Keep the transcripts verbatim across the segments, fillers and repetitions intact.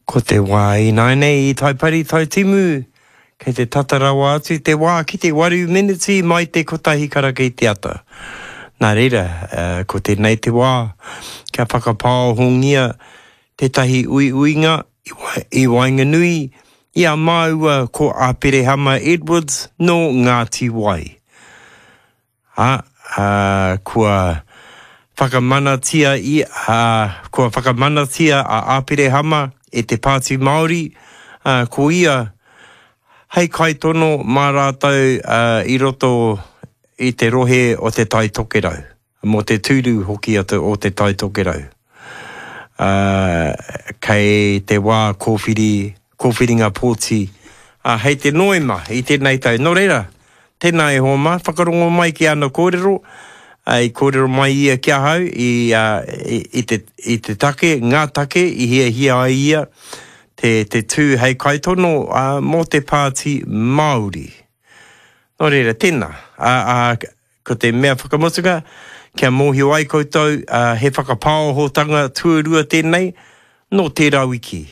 Ko te wā ināianei i Taipari Taitimu, kei te tata rawa atu te wā ki te waru meneti mai te kotahi karaka i te ata. Nā reira, ko tēnei te wā kia whakapāohongia tētahi uiuinga i waenganui i a māua ko Aperehama Edwards nō Ngāti Wai. Ā, ā, kua whakamanatia i, ā, kua whakamanatia a Aperehama e te Pāti Māori, ā, ko ia hei kaitono mā rātou i roto i te rohe o Te Tai Tokerau, mō te tūru hoki o Te Tai Tokerau. Ā, kei te wā kōwhiri, kōwhiringa pōti, ā, hei te Noema i tēnei tau. Nō reira, tēnā e hoa mā, whakarongo mai ki ana kōrero, ā, i kōrero mai ia ki ahau i, ā, i, i te, i te take, ngā take i hiahia ai ia te, te tū hei kaitono, ā, mō te Pāti Māori. Nō reira, tēnā, ā, ā, ko te mea whakamutunga, kia mōhio ai koutou, ā, he whakapāohotanga tuarua tēnei nō tērā wiki.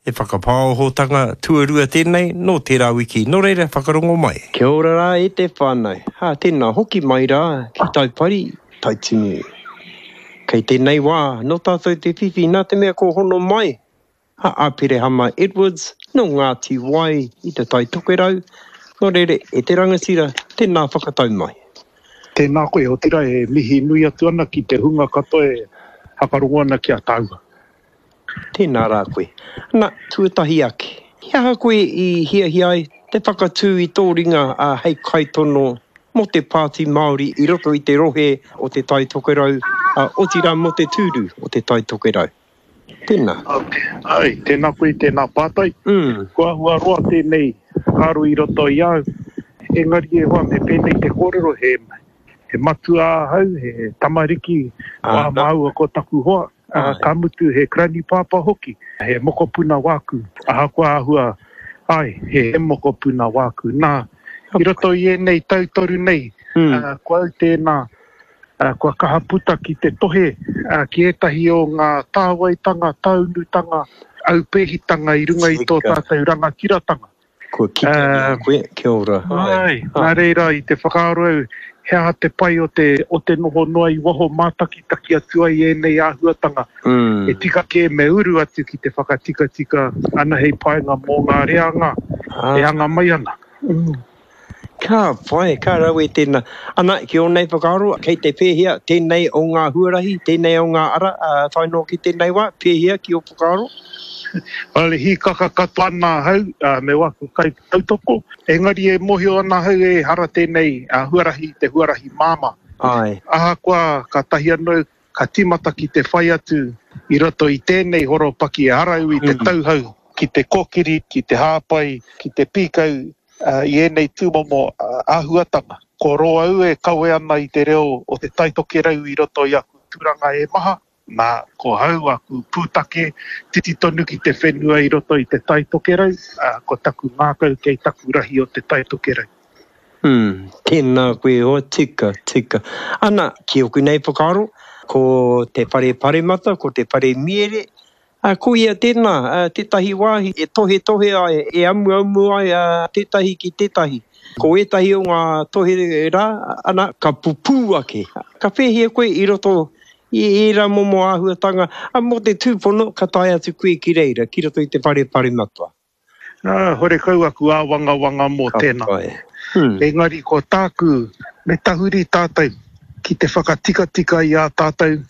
He whakapāohotanga tuarua tēnei nō tērā wiki. Nō reira, whakarongo mai. Kia ora rā e te whānau. Ā, tēnā hoki mai rā ki Taipari, Taitimu. Kei tēnei wā, nō tātou te whiwhi nā te mea kua hono mai a Aperehama Edwards nō Ngāti Wai i Te Tai Tokerau. Nō reira, e te rangatira, tēnā whakatau mai. Tēnā koe, otirā e mihi nui atu ana ki te hunga katoa e whakarongo ana ki a tāua. Tēnā rā koe. Na, tuatahi ake, he aha koe i hiahia ai te whakatū i tō ringa hei kaitono mō te Pāti Māori i roto i te rohe o Te Tai Tokerau, otirā mō te tūru o Te Tai Tokerau? Tēnā. Okay. Ai, tēnā koe, tēnā pātai. Mm. Kua āhua roa tēnei whakaaro i roto i a au. Engari e hoa, me pēnei te kōrero, he, he matua ahau, he tamariki, wā māua ko taku hoa. Ā, ka mutu he granny pāpā hoki, he mokopuna wāku, ahakoa āhua, āe, he mokopuna wāku. Nā, i roto i ēnei tau toru nei, ā, ko au tēnā, ā, kua kaha puta ki te tohe, ā, ki ētahi o ngā tāwaitanga, tāunutanga, aupēhitanga i runga i tō tātou rangatiratanga. Kua kite i a koe, kia ora. Āe, nā reira i te whakaaro au, he aha te pai o te, o te noho noa i waho mātakitaki atu ai ēnei āhuatanga. E tika kē me uru atu ki te whakatikatika ana hei painga mō ngā reanga e anga mai ana. Ka pai, ka rawe tēnā. Ana, ki ō nei whakaaro, kei te pēhea tēnei o ngā huarahi, tēnei o ngā ara, tae noa ki tēnei wā, pēhea ki ō whakaaro? Well, hīkaka katoa ana ahau me waku kaitautoko, engari e mōhio ana ahau ehara tēnei huarahi i te huarahi māmā. Āe. Ahakoa kātahi anō ka tīmata ki te whai atu i roto i tēnei horopaki ehara au i te tauhou ki te kōkiri, ki te hāpai, ki te pīkau i ēnei tūmomo āhuatanga. Ko rō au e kawe ana i te reo o Te Tai Tokerau i roto i aku tūranga e maha. Nā, ko hau aku pūtake, titi tonu ki te whenua i roto i Te Tai Tokerau, ā, ko taku ngākau kei taku rahi o Te Tai Tokerau. Umm, tēnā koe e hoa, tika, tika. Ana, ki oku nei whakaaro, ko te whare paremata, ko te whare miere, Ā, ko ia tēnā, tētahi wāhi e tohetohe ai, e amuamu ai tētahi ki tētahi. Ko ētahi o ngā tohe rā, ana, ka pupū ake. Ka pēhia koe i roto i ērā momo āhuatanga, ā, mō te tūpono ka tae atu koe ki reira, ki roto i te whare paremata. Ā, horekau aku āwangawanga mō tēnā. Ka pai. Hmm. Engari ko tāku, me tahuri tātou ki te whakatikatika i ā tātou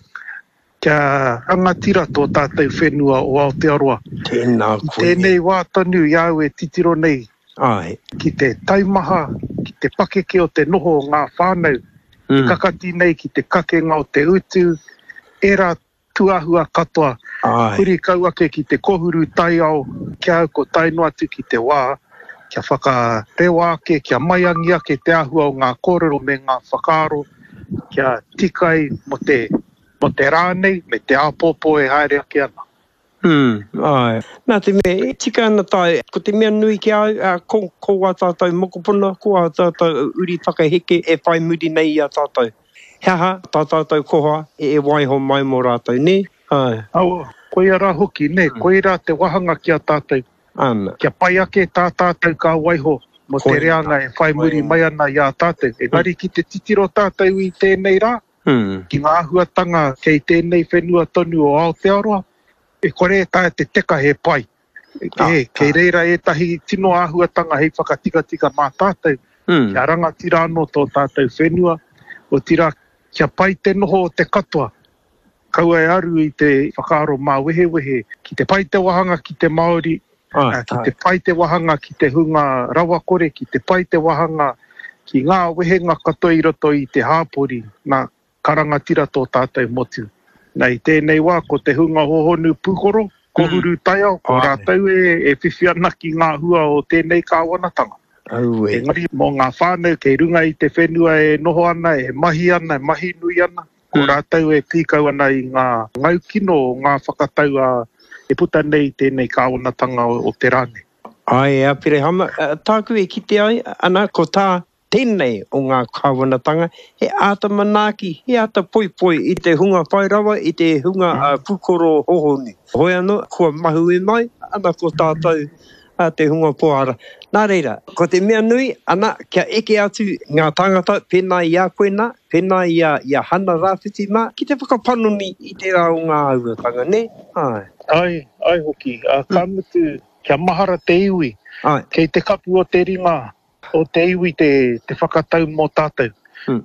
Kia rangatira tō tātou whenua o Aotearoa. Tēnā I koe. tēnei wā tonu i a au e titiro nei Āe. ki te taumaha, ki te pakeke o te noho o ngā whānau, e kakati nei ki te kakenga o te utu, ērā tūāhua katoa, Āe. huri kau ake ki te kohuru taiao, ki a au ko tae noa atu ki te wā kia whakarewa ake, kia maiangi ake te āhua o ngā kōrero me ngā whakaaro kia tika ai mō te Mō te rā nei, me te āpōpō e haere ake ana. Umm, āe. Nā te mea, e tika ana tāu, ko te mea nui ki a au, ā, ko, ko ā tātou mokopuna, ko ā tātou uri whakaheke e whai muri nei i a tātou. He aha tā tātou koha e waiho mai mō rātou, nē? Āe. Aua, Koia rā hoki, nē, koirā te wāhanga ki a tātou. Ana. Kia pai ake tā tātou ka waiho mō te reanga e whai muri mai ana i a tātou. Engari ki te titiro tātou i tēnei rā, ki ngā āhuatanga kei tēnei whenua tonu o Aotearoa, e kore e taea te teka he pai. E, kei reira ētahi tino āhuatanga hei whakatikatika mā tātou, kia rangatira anō tō tātou whenua, otirā kia pai te noho o te katoa. Kaua e aru i te whakaaro māwehewehe, ki te pai te wāhanga ki te Māori, ki te pai te wāhanga ki te hunga rawakore, ki te pai te wāhanga ki ngā wehenga katoa i roto i te hāpori, nā, ka rangatira tō tātou motu. Nā, i tēnei wā, ko te hunga hohonu pūkoro, kohuru taiao, ko rātou e, e whiwhi ana ki ngā hua o tēnei kāwanatanga. Aue. Engari, mō ngā whānau kei runga i te whenua e noho ana, e mahi ana, e mahi nui ana, ko rātou e pīkau ana i ngā ngaukino o ngā whakatau a e puta nei i tēnei kāwanatanga o, o te rā nei. Āe, e Aperehama, tāku e kite ai, ana, ko tā tēnei o ngā kāwanatanga, he āta manaaki, he āta poipoi i te hunga whai rawa, i te hunga pūkoro hohonu. Hoi anō, kua mahue mai, ana ko tātou te hunga pōhara. Nā reira, ko te mea nui, ana, kia eke atu ngā tāngata pēnā i a koe nā, pēnā i a, i a Hana Rāwhiti mā, ki te whakapanoni i tērā o ngā āhuatanga, nē? Āe. Āe, āe hoki. Ā, ka mutu, kia mahara te iwi. Āe. Kei te kapu o te ringa o te iwi te, te whakatau mō tātou.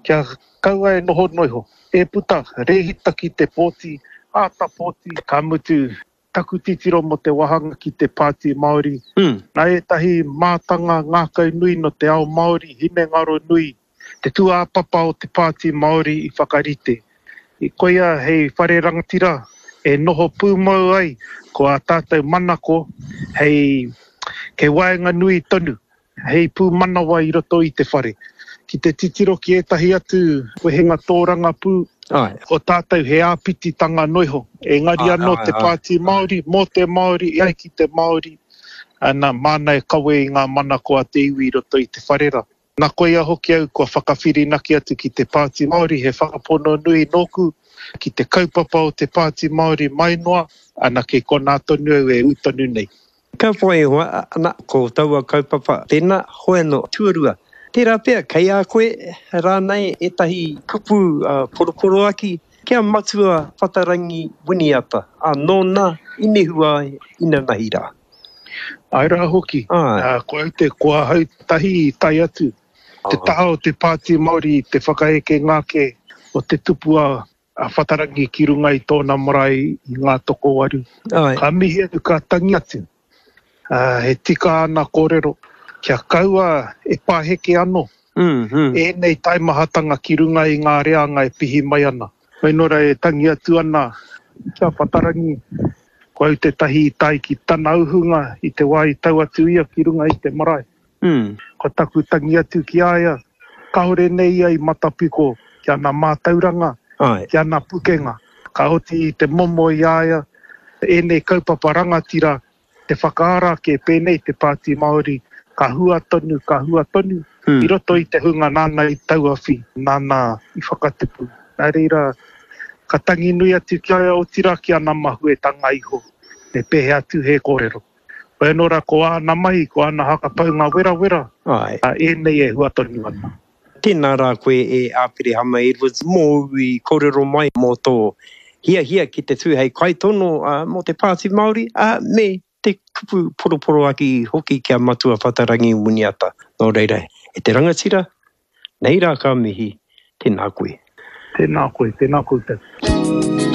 Kia kaua e noho noa iho. E puta, rēhita ki te pōti, āta pōti, ka mutu, taku titiro mō te wāhanga ki te Pāti Māori. Nā ētahi mātanga ngākau nui nō te ao Māori, hinengaro nui, te tūāpapa o te Pāti Māori i whakarite. I koia hei whare rangatira e noho pūmau ai ko ā tātou manako hei kei waenganui tonu, hei pūmanawa i roto i te whare. Ki te titiro ki ētahi atu wehenga tōrangapū, ko tātou he āpititanga noa iho. Engari anō te Pāti Māori, mō te Māori, e ai ki te Māori, ana, māna e kawe i ngā manako a te iwi i roto i te whare rā. Nā koia hoki au kua whakawhirinaki atu ki te Pāti Māori, he whakapono nui nōku ki te kaupapa o te Pāti Māori mai noa, ana, kei konā tonu au e ū tonu nei. Ka whai hoa, ana, ko taua kaupapa tēnā, hoi anō, tuarua. Tērā pea, kei a koe rānei ētahi kupu poroporoaki kia Matua Whatarangi Winiata, ā, nōna i nehua ai inanahi rā. Āe rā hoki, ko au te, ko ahau tahi i tae atu, te taha o te Pāti Māori i te whakaekenga ake o te tupua a Whatarangi ki runga i tōna marae i Ngātokowaru. Ka mihi atu, ka tangi atu. He tika ana kōrero, kia kaua e paheke anō ēnei taimahatanga ki runga i ngā reanga e pihi mai ana. Hoi nō reira e tangi atu ana ki a Whatarangi, ko au tētahi i tae ki tana uhunga i te wā i tau atu ia ki runga i te marae. Ko taku tangi atu ki a ia, kāore nei ia i matapiko ki ana mātauranga, ki ana pukenga. Ka oti i te momo i a ia ēnei kaupapa rangatira te whakaara ake pēnei te Pāti Māori, ka hua tonu, ka hua tonu, i roto i te hunga nāna i tauawhi, nāna i whakatupu. Nā reira, ka tangi nui atu ki a ia, otirā ki ana mahuetanga iho, me pēhea atu he kōrero. Hoi anō rā, ko āna mahi, ko āna hakapaunga werawera, ēnei e hua tonu ana. Tēnā rā koe e Āperehama Edwards mōu i kōrero mai mō tō hiahia ki te tū hei kaitono mō te Pāti Māori, ā, me te kupu poroporoaki hoki ki a Matua Whatarangi Winiata. Nō reira, e te rangatira, nei rā ka mihi, tēnā koe. Tēnā koe, tēnā koutou.